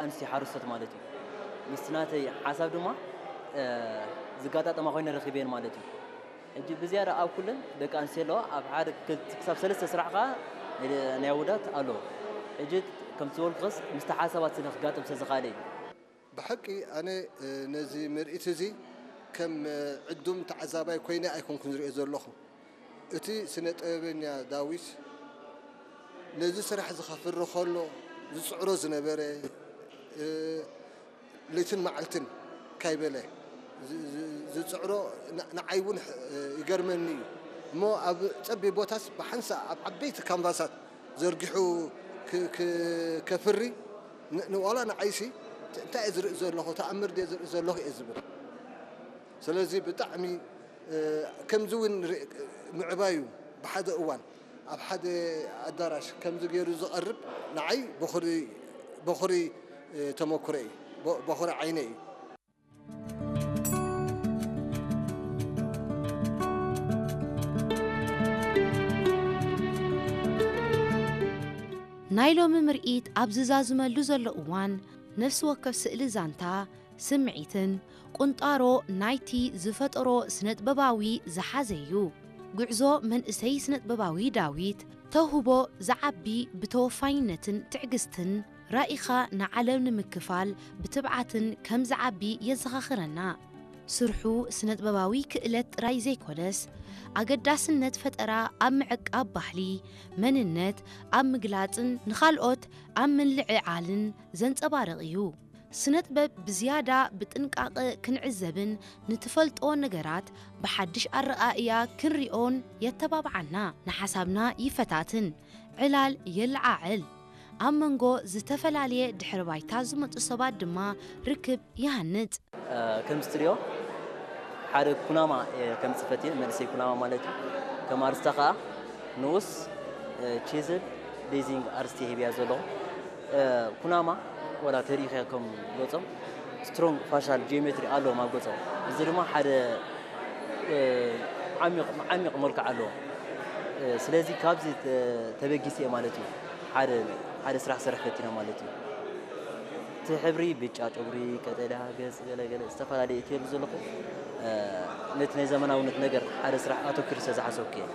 ኣንስትዮ ሓረስቶት ማለት እዩ። ምስቲ ናተይ ሓሳብ ድማ ዝጋጣጠማ ኮይነ ረኺበየን ማለት እዩ። ሕጂ ብዝያዳ ኣብ ኩለን ደቂ ኣንስትዮ ኣለዋ። ኣብ ሓደ ክሳብ ሰለስተ ስራሕ ከዓ ናይ ኣወዳት ኣለዎ። ሕጂ ከምቲ ዝበልኩኸስ ምስቲ ሓሳባት ስለ ክጋጥም ስለ ዝኽኣለ እዩ። ብሓቂ ኣነ ነዚ ምርኢት እዚ ከም ዕዱም ተዓዛባይ ኮይነ ኣይኮንኩን ዝሪኦ ዘለኹ። እቲ ስነ ጥበበኛ ዳዊት ነዚ ስራሕ እዚ ከፍሪ ከሎ ዝፅዕሮ ዝነበረ ለይትን መዓልትን ካይበለ ዝፅዕሮ ንዓይ እውን ይገርመኒ እዩ። እሞ ኣብ ፀቢብ ቦታስ ብሓንሳእ ኣብ ዓበይቲ ካንቫሳት ዘርጊሑ ከፍሪ ንዋላ ንዓይሲ እንታይ እየ ዝርኢ ዘለኹ፣ ተኣምር ድየ ዝርኢ ዘለኹ እየ ዝብል። ስለዚ ብጣዕሚ ከምዚ እውን ምዕባዩ ብሓደ እዋን ኣብ ሓደ ኣዳራሽ ከምዚ ገይሩ ዝቐርብ ንዓይ በኹሪ ተመኩረ እዩ፣ በኹሪ ዓይነ እዩ። ናይ ሎሚ ምርኢት ኣብ ዝዛዝመሉ ዘሎ እዋን ነፍሲ ወከፍ ስእሊ ዛንታ፣ ስምዒትን ቁንጣሮ ናይቲ ዝፈጠሮ ስነጥበባዊ ዝሓዘ እዩ። ጉዕዞ መንእሰይ ስነጥበባዊ ዳዊት ተውህቦ ዝዓቢ ብተወፋይነትን ትዕግስትን ራኢኻ ንዓለም ንምክፋል ብትብዓትን ከም ዝዓቢ የዘኻኽረና። ስርሑ ስነጥበባዊ ክእለት ጥራይ ዘይኮነስ ኣገዳስነት ፈጠራ ኣብ ምዕቃብ ባህሊ፣ መንነት ኣብ ምግላጽን ንኻልኦት ኣብ ምልዕዓልን ዘንጸባርቕ እዩ። ስነጥበብ ብዝያዳ ብጥንቃቐ ክንዕዘብን ንትፈልጦ ነገራት ብሓድሽ ኣረኣእያ ክንሪኦን የተባብዓና። ንሓሳብና ይፈታትን ዕላል የለዓዕል። ኣብ መንጎ ዝተፈላለየ ድሕረ ባይታ ዝመጹ ሰባት ድማ ርክብ ይሃንጽ። ከም ስትድዮ ሓደ ኩናማ ከምጽእ ፈትየ መንእሰይ ኩናማ ማለት እዩ። ከም ኣርስታ ከዓ ንኡስ ቺዝል ቤዚንግ ኣርስቲ ሂብያ ዘለኹ። ኩናማ ወላ ተሪኢኻ ከም ገጾም ስትሮንግ ፋሻል ጂኦሜትሪ ኣለዎም ኣብ ገጾም። እዚ ድማ ሓደ ዓሚቕ ዓሚቕ መልክዕ ኣለዎ። ስለዚ ካብዚ ተበጊሰ ማለት እዩ ሓደ ሓደ ስራሕ ክሰርሕ ፈቲነ ማለት እዩ። እቲ ሕብሪ ብጫ ጨጉሪ፣ ቀጠልያ ገጽ፣ ገለ ገለ ዝተፈላለየ እትየሉ ዘለኹ ነቲ ናይ ዘመናውነት ነገር ሓደ ስራሕ ኣተኪሩ ስለ ዝሓሰብኩ እየ።